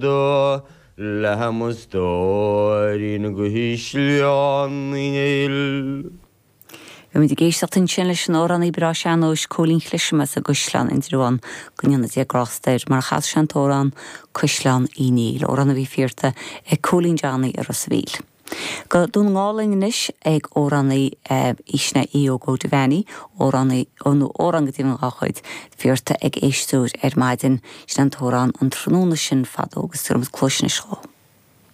Do le mo stóirín i gCaisleán Uí Néill. Bhí muid ag éisteacht ansin leis an amhránaí breá sean-nóis Cóilín Cliseam as an gCaisleán, Indreabhán, go ndéana Dia grásta air, mar a chas sé an t-amhrán Caisleán Uí Néill, amhrán a bhí fiarta ag Cóilín Johnny i Ros a' Mhíl. Go Dún na nGall linn anois ag amhránaí sin é Aodh Óg Ó Devaney, amhránaí, nó amhrán go deimhin dhá chuid, fiarta ag éisteoir ar maidin, sin an t-amhrán an tráthnóna sin fadó agus tabharfaidh muid cluais anois dhó.